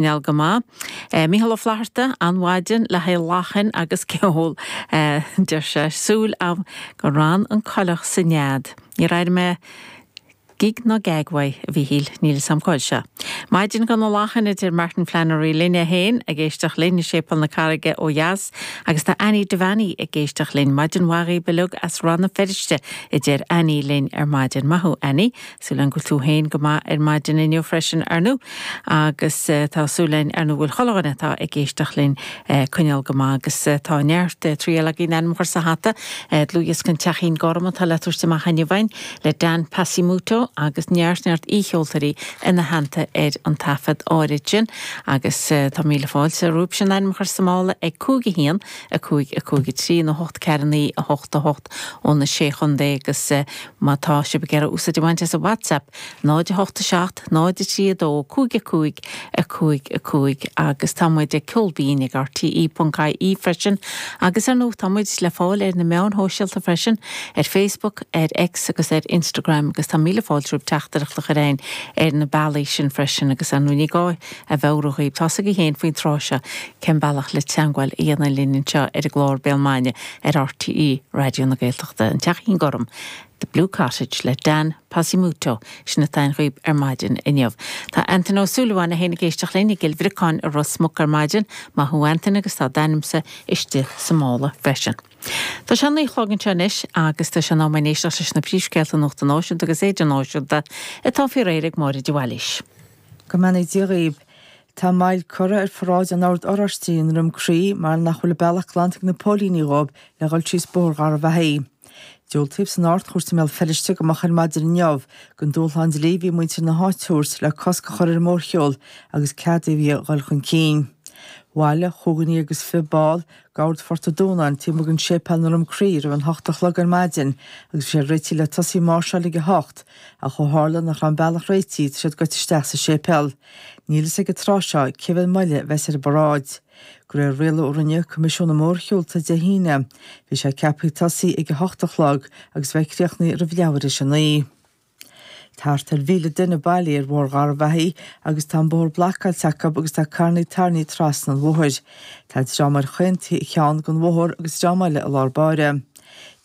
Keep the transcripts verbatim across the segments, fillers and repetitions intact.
Coinneáil go maith. Mícheál Ó Flatharta, an-mhaidin le haghaidh lachain agus ceol, deir sé, súil agam gur fhan an coileach sa nead. Níor airigh mé gig ná gag uaidh, a Mhíchíl, níl 'fhios a'm cá bhfuil sé. Maidin do na lachain a deir Martin Flannery linn é féin ag éisteacht linn i Séipéal na Carraige ó dheas agus tá Annie Devaney ag éisteacht linn. Maidin mhaith dhaoibh uilig as Rann na Feirste a deir Annie linn ar maidin. Maith thú Annie, súil agam go bhfuil tú féin go maith ar maidin inniu freisin ar ndóigh agus tá súil againn ar ndóigh go bhfuil chuile dhuine atá ag éisteacht linn coinneáil go maith agus tá neart triail againn ainm a chur sa hata dlúthdhiosca An Teachín Gorm atá le tabhairt amach inniu againn le Dan Pasimoto agus neart neart aoicheoltóirí ina theannta ar an taifead áirid sin agus tá míle fáilte romhaibh sin ainm a chur sa mála ag cúig a haon a cúig a cúig a trí nó hocht ceathair naoi a hocht a hocht ó na sé chontae agus má tá sibh ag iarraidh úsáid a bhaint as an WhatsApp náid a hocht a seacht náid a trí a dó cúig a cúig a cúig a cúig agus tá muid ag ceolbinn ag RTE ponc IE freisin agus ar ndóigh tá muid le fáil ar na meáin shóisialta freisin ar Facebook, ar X agus ar Instagram agus tá míle fáilte romhaibh teachtaireacht a chur chugainn ar na bealaí sin freisin agus ar ndóigh ní gá a mheabhrú dhaoibh tá a fhios agaibh féin faoin tráth seo cén bealach le teagmháil a dhéanamh linn anseo ar an gclár Béal Maidine ar RTE Raidió na Gaeltachta an Teachín Gorm. The Blue Cottage le Dan Pasimuto sin atá againn dhaoibh ar maidin inniu. Tá Antain Ó Súilleabháin é féin ag éisteacht linn i gCill Bhriocáin i Ros Muc ar maidin, maith thú Antain agus tá d'ainmse istigh sa mála freisin. Tá sé naoi a chlog anseo anois agus tá sé in am éisteacht leis na príomhscéalta nuachta náisiúnta agus idirnáisiúnta atá faoi réir ag Máire de Bhailís. Go mbeannaí Dia dhaoibh. Tá moill curtha ar pharáid an Oird Oráistigh i nDroim Crí mar nach bhfuil an bealach glanta ag na póilíní dhóibh le dhul síos Bóthar Gharbhachaidh. Diúltaíodh san Ard-Chúirt i mBéal Feirste go moch ar maidin inniu don dúshlán dlí a bhí muintir na háite a thabhairt le cosc a chur ar an mórshiúl agus cead a bhí a dhul chun cinn. Bhailigh chúig dhuine agus fiche ball d'Ord Phort an Dúnáin taobh amuigh den séipéal i nDroim Crí roimh an hocht a chlog ar maidin agus bhí sé réitithe le tosaí ag máirseáil ag a hocht ach ó tharla nach raibh an bealach réitithe tá siad goite isteach sa séipéal. Níl fhios ag an tráth seo cé mhéad moille a bheas ar an bparáid. De réir rialú a rinne Coimisiún na Mórshiúlta Dé hAoine, bhí sé ceaptha tosaí ag a hocht a chlog agus bheith críochnaithe roimh leathuair théis a naoi. Thart ar mhíle duine bailithe ar Bhóthar Gharbhachaidh agus tá an bóthar blocáilte acu agus tá carranna tarraingthe trasna an bhóthair. Tá dream ar chaon cheann den bhóthar agus dream eile i lár báire.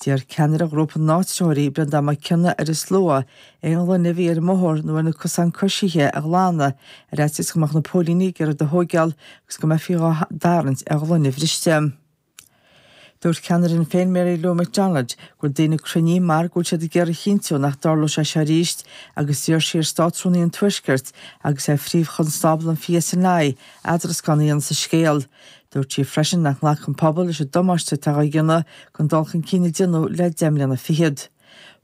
D'iarr ceannaire ghrúpa na n-áitritheoirí, Breandán Mac Cionnaith, ar an slua aon ghloine a bhí ar an mbóthar nó ar na cosáin coisithe a ghlanadh ar fhaitíos go mbeadh na póilíní ag iarraidh iad a thóigeáil agus go mbeifí dhá dtarraingt ar ghloine bhriste. Dúirt ceannaire Shinn Féin Mary Lou McDonald go bhfuil daoine cruinnithe mar go bhfuil siad ag iarraidh a chinntiú nach dtarlóidh sé seo arís agus d'iarr sí ar Státrúnaí an Tuaiscirt agus ar Phríomh-Chonstábla an PSNI eadrascán a dhéanamh sa scéal. Dúirt sí freisin nach nglacann an pobal leis an damáiste atá á dhéanamh don dul chun cinn a déanadh le deich mbliana fichead.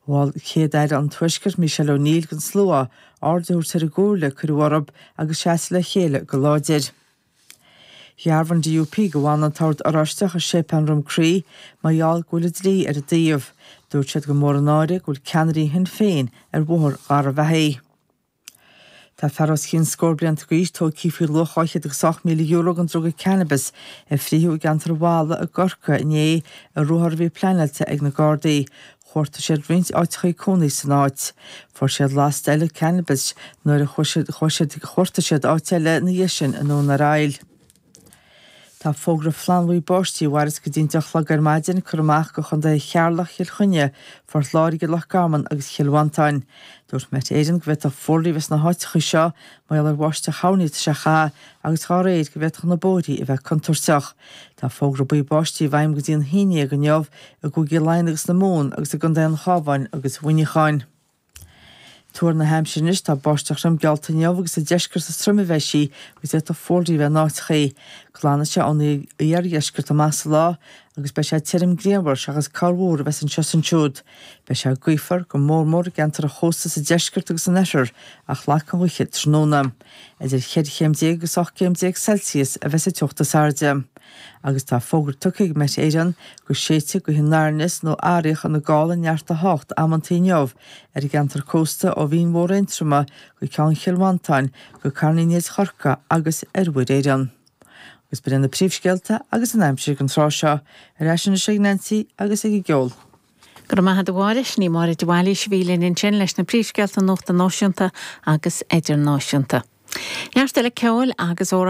Mhol Céad-Aire an Tuaiscirt Michelle O'Neill don slua aird a thabhairt ar an gcomhairle a cuireadh orthu agus seasamh le chéile go láidir. Dhearbhaigh an DUP go bhfanann an tOrd Oráisteach i Séipéal Dhroim Crí mar gheall go bhfuil an dlí ar a dtaobh. Dúirt siad gur mór an náire go bhfuil ceannairí Shinn Féin ar Bhóthar Gharbhachaidh. Tá fear os cionn scór blianta d'aois tógtha faoi luach dhá chéad agus ocht míle euro den druga cannabis a frítheadh i gceantar an Bhalla i gCorcaigh inné i ruathar a bhí pleanáilte ag na Gardaí. Chuartaigh siad roinnt áiteachaí cónaí san áit. Fuair siad lasta eile cannabis nuair a chuaigh siad chuartaigh siad áit eile ina dhiaidh sin i nDún ar Aill. Tá fógra flannbhuí báistí a mhairfeas go dtí an deich a chlog ar maidin curtha amach do chontaetha Cheatharlach, Chill Chainnigh, Phort Láirge, Loch Garman agus Chill Mhantáin. Dúirt Met Éireann go bhféadfadh fuarlaigh a bheith sna háiteacha seo mar gheall ar bháisteach thoirní atá sé a chaitheamh agus dá réir go bhféadfadh na bóithrí a bheith contúirteach. Tá fógra buí báistí i bhfeidhm go dtí an haon déag inniu i gCúigí Laighean agus na Mumhan agus i gContae an Chabháin agus Mhuineacháin. Tuar na haimsire anois, tá báisteach throm geallta inniu agus sa deisceart is troime a bheidh sí agus d'fhéadfadh fuarlaigh a bheith in áiteachaí. Glanfaidh sé ón iardheisceart amach sa lá agus beidh sé tirim grianmhar seachas corrmhúr a bheas anseo is ansiúd. Beidh sé gaofar, go mór mór i gceantar an chósta sa deisceart agus san oirthear ach lagfaidh an ghaoth tráthnóna. Idir cheithre chéim déag agus ocht gcéim déag Celsius a bheas an teocht is airde. Agus tá fógra tugtha ag Met Éireann go séidfidh gaoth anoir aneas nó fharaíoch ina gála neart a hocht amantaí inniu ar an gceantar cósta ó Mhín Mhór Aontroma go Ceann Chill Mhantáin go Carn Uí Néid Chorcaí agus ar Mhuir Éireann. Agus b'in iad na príomhscéalta agus an aimsir ag an tráth seo. Ar ais anois ag Nancy agus ag an gceol. Go raibh maith agat a Mháire, sin í Máire de Bhailís a bhí linn ansin leis na príomhscéalta nuachta náisiúnta agus idirnáisiúnta. Neart eile ceoil agus